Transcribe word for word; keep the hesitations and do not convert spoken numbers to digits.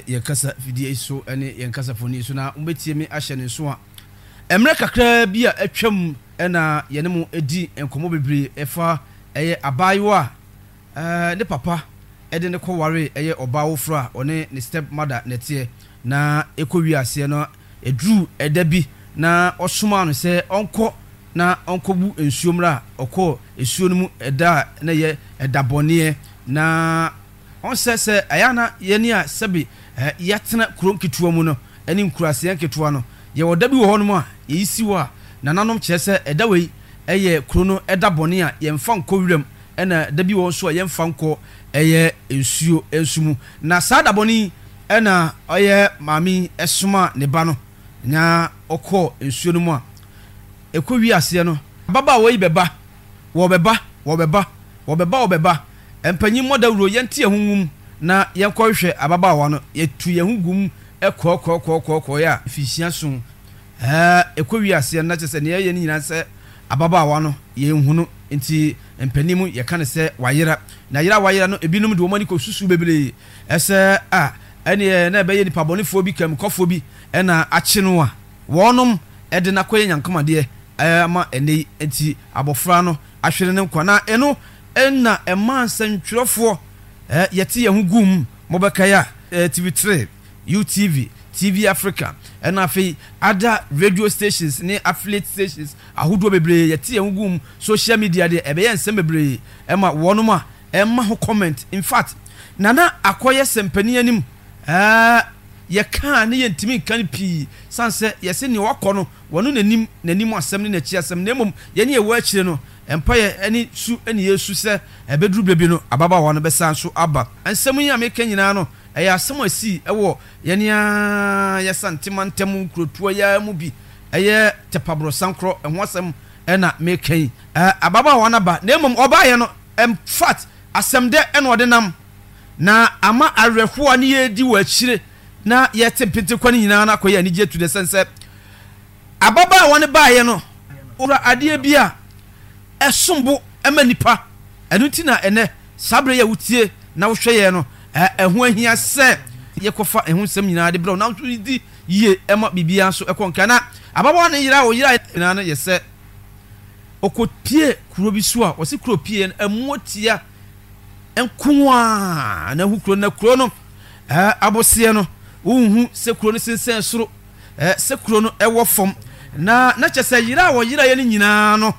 Yɛn kasa fidie so ne yɛn kasafoni so na mobɛtie me ahyɛ ne nso a, mmerɛ kakraa bi a atwam na yɛne mo di nkɔmmɔ bebree ɛfa ɛyɛ abaayewa a ne papa de no kɔwaree ɛyɛ ɔbaa woforɔ a ɔne ne step mother na ɛteɛ, na ɛkɔ wie aseɛ no ɛduruu ɛda bi na ɔsomaa no sɛ ɔnkɔ na ɔnkɔbu nsuo mmra. Ɔkɔɔ nsuo no mu ɛda a na ɛyɛ ɛda bɔneɛ, na ɔnsɛ sɛ ɛyɛ a na yɛn a sɛbe yɛatena kuro nketewa mu no ne nkuraseɛ nketewa no, yɛwɔ da bi wɔ hɔnom a yɛyi si hɔ a nananom kyerɛ sɛ ɛda wei yɛ kuro no da bɔne a yɛmfa nkɔ wiram, ɛna da bi wɔ hɔ nso a yɛmfa nkɔ ɛyɛ nsuo nso mu. Na saa da bɔne yi na ɔyɛ maame yi somaa ne ba no na ɔkɔɔ nsuo no mu a ɛkɔwie aseɛ no, ababaawa yi bɛba, wɔbɛba, wɔbɛba, wɔbɛba, wɔbɛba. Mpanyin mmɔ dawuro, yɛnte yɛn ho ngu mu na yɛnkɔhwehwɛ ababaawa no. Yɛtu yɛn ho gu mu kɔɔkɔɔkɔɔkɔɔkɔɔeɛ a, mfinhyia nson ɛɛ ɛkɔwie aseɛ no, na kyerɛ sɛ nea yɛyɛ no nyinaa sɛ ababaawa no yɛnhu no. Nti mpanin mu yɛka no sɛ wayera. Na yera a wayera no, ebinom de wɔn ani kɔsusu bebree sɛ a ɛneɛ na ɛbɛyɛ nipa bɔnefoɔ bi, kamikɔfoɔ bi na akye no a wɔnom de no akɔyɛ nyankomadeɛ ama ɛnnɛ yi nti abɔfra no ahwere ne nkwa. Na ɛno na ɛmaa nsɛntwerɛfoɔ yɛte yɛn ho guu mu, mobɛkae a, T V three, U T V, T V Africa, ɛna afei other radio stations ne affiliate stations ahodoɔ bebree yɛte yɛn ho guu mu. Social media deɛ ɛbɛyɛ nsɛm bebree ɛma wɔnom a ɛma ho comment. In fact, Nana akɔyɛ sɛmpanin anim, ɛɛ yɛka a ne yɛntumi nka no pii, sane sɛ yɛse nea wakɔ no wɔno n'anim n'anim asɛm ne n'akyi asɛm, na mmom yɛne yɛwɔ akyire no mpaeɛ ne su ne yɛsu sɛ ɛbɛduru berɛ bi no ababaawa no bɛsan so aba. Nsɛm yi a meka nyinaa no ɛyɛ asɛm a ɛsii wɔ yɛne ara yɛAsante mantam nkurotoɔ yi ara mu bi, ɛyɛ Tɛpaborɔsankorɔ ɛho asɛm na meka yi. Ababaawa no aba, na mmom ɔbaeɛ no in fact asɛm dɛ na ɔde nam, na ama awerɛhoɔ a ne yɛredi wɔ akyire na yɛte mpentekwa no nyinaa no akɔyɛ anigyeɛ tu dɛ sɛn sɛ ababaawa no baeɛ no ɔkura adeɛ bi a ɛsom bo ma nnipa. Ɛno nti na ɛnnɛ saa berɛ yi a wotie na wohwɛ yɛn no, ɛho ahia sɛ yɛkɔfa ɛho nsɛm nyinaa de brɛ wo na wo nso di yie ma biribiara nso ɛkɔ nkan. Na ababaawa no yera a ɔyeraeɛ nyinaa no yɛ sɛ ɔkɔpie kuro bi so a wɔse kuro pie no ɛmmoa tia nko ara na ahu kuro no, na kuro no aboseɛ no wonhu sɛ kuro no sensɛn soro, sɛ kuro no ɛwɔ fam, na na kyɛ sɛ yera a wɔyeraeɛ no nyinaa no